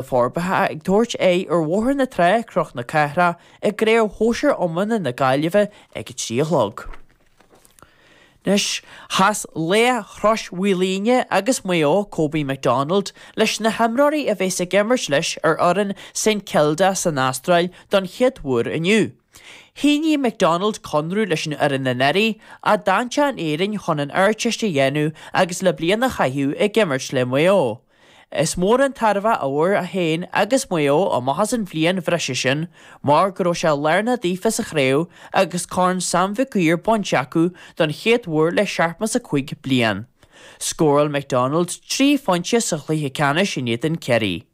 Forbartha ag tabhairt aghaidh ar Bhóthar na Trá, Cnoc na Cathrach, i gCraobh Shóisir Iomána na Gaillimhe ag a 3 a chlog. Anois, chas laoch Chrois Mhaoilíona agus Maigh Eo, Kobe McDonald, leis na himreoirí a bheas ag imirt leis ar fhoireann St Kilda san Astráil don chéad uair inniu. Shínigh McDonald conradh leis an fhoireann anuraidh, ach d'fhan sé in Éirinn chun an Ardteist a dhéanamh agus le bliain a chaitheamh ag imirt le Maigh Eo. Is mór an tairbhe a fuair é féin agus Maigh Eo amach as an bhliain bhreise sin mar go raibh sé lárnach daofa sa chraobh agus Corn Sam Mhic Uidhir bainte acu don chéad uair le 75 bliain. Scóráil McDonald 3 phointe sa chluiche ceannais in éadan Ciarraí.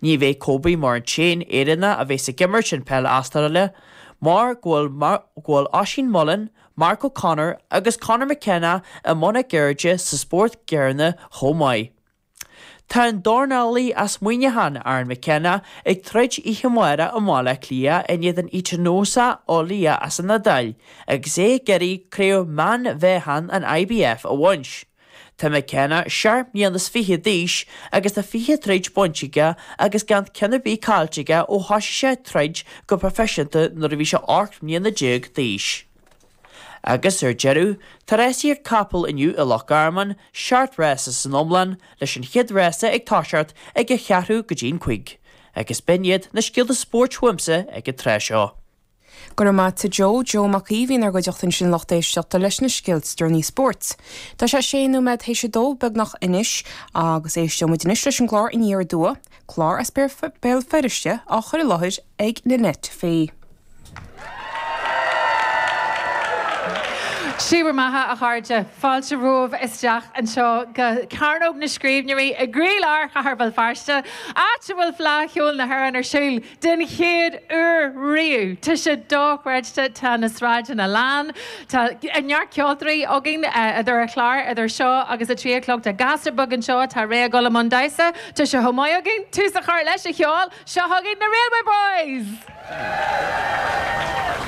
Ní bheidh Kobe mar an t-aon Éireannach a bheas ag imirt an peil Astráile mar go bhfuil go bhfuil Oisín Mullin, Mark O'Connor agus Conor McKenna i mbun a gceirde sa spórt céanna chomh maith. Tá an dornálaí as Muineachán, Aaron McKenna, ag troid oíche amárach i mBaile Átha Cliath in éadan Etinosa Olia as an Iodáil agus é ag iarraidh craobh meánmheáchan an IBF a bhaint. Tá McKenna 27 mbliana d'aois agus tá 20 troid bainte aige agus gan ceann ar bith caillte aige ó thosaigh sé ag troid go proifisiúnta nuair a bhí sé 18 mbliana d'aois. Agus ar deireadh, tá rásaíocht capall inniu i Loch Garman, seacht rása san iomlán, leis an chéad rása ag toiseacht ag a cheathrú go dtí'n chuig. Agus b'in iad na scéalta spóirt uaimse ag an tráth seo. Go raibh maith a't a Joe, Joe Mac Aoidh a bhí inár gcuideachta ansin a lucht éisteachta leis na scéalta deireanacha spóirt. Tá sé sé nóiméad théis a dó beagnach anois agus éisteoidh muid anois leis an gclár Aniar Aduaidh, clár as Béal Feirste á chur i láthair ag Nanette Fay. Sé bhur mbeatha, a chairde. Fáilte romhaibh isteach anseo go Cearnóg na Scríbhneoirí i gcroílár Chathair Bhéal Feirste, áit a bhfuil Fleadh Cheoil na hÉireann ar siúl den chéad uair riamh. Tá sé dochreidte, tá na sráideanna lán, tá neart ceoltóirí againn idir an chlár, idir seo agus a 3 a chlog. Tá gasúr beag anseo atá réidh a dhul i mbun damhsa. Tá sé chomh maith againn tús a chur leis an cheol. Seo chugainn na Railway Boys!